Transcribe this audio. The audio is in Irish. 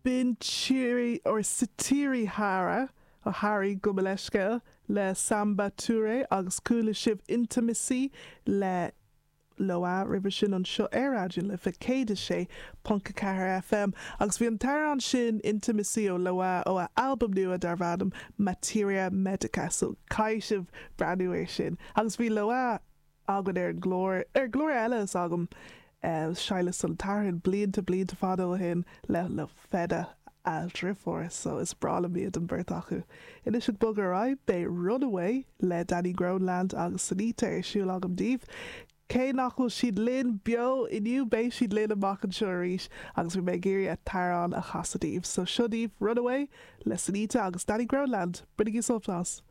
B'in Sitiri or Sitiri Hara, or Harry gabh mo leithscéal, le Samba Touré agus chuala sibh Intimacy le Loah roimhe sin anseo ar Raidió na Life 106.4 FM agus bhí an t-amhrán sin Intimacy ó Loah ó a albam nua darbh ainm Materia Medica so caithfidh sibh breathnú air sin agus bhí Loah againn ar an gclár, ar an gclár eile is agam, Shadhlas an tSathairn, blianta, blianta fada ó shin, le, le Feda, a dhriofúr, so is breá liom iad an bheirt acu. Anois ag bogadh ar aghaidh, beidh Runaway le Danny Groenland agus Sinitta ar siúl agam daoibh. Cé nach bhfuil siad linn beo inniu, beidh siad linn amach anseo arís agus bhí mé ag iarraidh a t-amhrán a chasadh daoibh. So seo daoibh Runaway le Sinitta agus Danny Groenland. Bainigí sult as!